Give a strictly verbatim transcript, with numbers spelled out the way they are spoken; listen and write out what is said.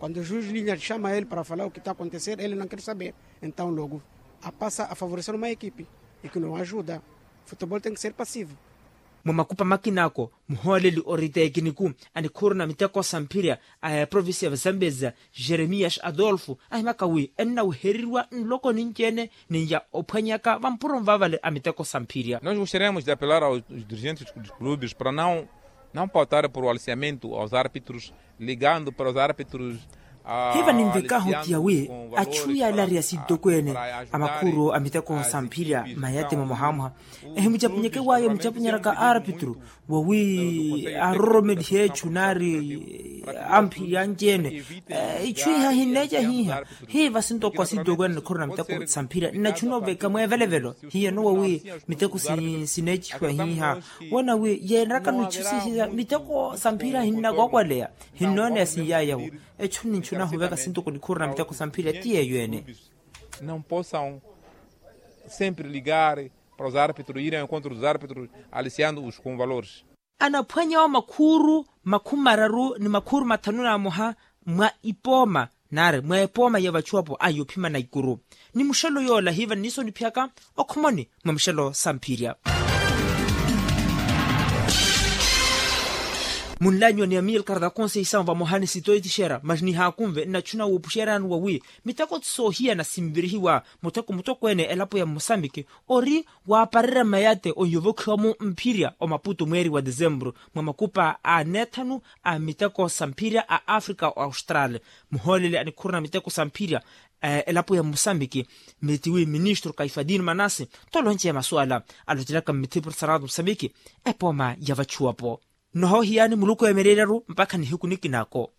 Quando o juiz lhe chama ele para falar o que está a acontecer, ele não quer saber. Então logo a passa a favorecer uma equipe e que não ajuda. Futebol tem que ser passivo. Mwa makupa makina ako, muhooleli ori tekiniku a nikhuuru na miteko sa mphirya a eprovincia ya zambezia, jeremias adolfo, ahimaka wi ennawehereriwa nloko ninci-ene ni ya ophwanyaka vampuro nvavale a miteko sa mphirya. Nós gostaríamos de apelar aos dirigentes dos clubes para não não pautar por aliciamento aos árbitros, ligando para os árbitros. Hiva ninvekahu tiya wi achu yaalariya sintokweene a makhuuru a miteko sa mphirya mayati mwamohamoha, ehimucapunyeke waayo mucapunyeraka arpitru wawi aroromelihe echu nari amphirya anci-ene. Ichu iha hinneeca hiha hiva sintoko sintokweene nikhuuru na miteko sa mphirya nnachuna oveka mweevelevelo. Hiyo nowa wi miteko sineecihiwa hiha wona wi yeenrakano ichu sihiya miteko sa mphirya hinnakokwaleya. Hinnooneya siyayawo echu ninchuna huveka sintoko nikhuuru na miteko sa mphirya ti yeeyo ene. Não possam sempre ligar para os árbitros irem ao encontro dos árbitros aliciando os com valores. Anaphwanyawo makhuuru makhumi mararu ni makhuuru mathanu na moha mwa ipooma nari mwa epooma ya vachuwapo a yophimana ikuru. Ni muxelo yoola hiva nniso niphiyaka okhomoni mwa mixelo sa mphirya. Munlanyiwa ni amilcar da conceição vamoha ni sitoitixera mas nihaakunve nnachuna wuupuxerani wawi miteko ti soohiyana sinvirihiwa mutheko mutokweene elapo ya musambiki ori waaparerya mayate onyovokhiwa-mo mphirya omaputo mweeri wa desembro mwa makupa a neethanu a miteko sa mphirya a africa o austral. Muhooleli a nikhuuru na miteko sa mphirya elapo ya musambiki mitiwi ministro kaifadin manase tolonceya masuwala alocelaka mmithipuru sa rato musambiki epooma ya vachuwapo. Nnohoohiyani muluku eemereeryaru mpakha nihiku nikinako.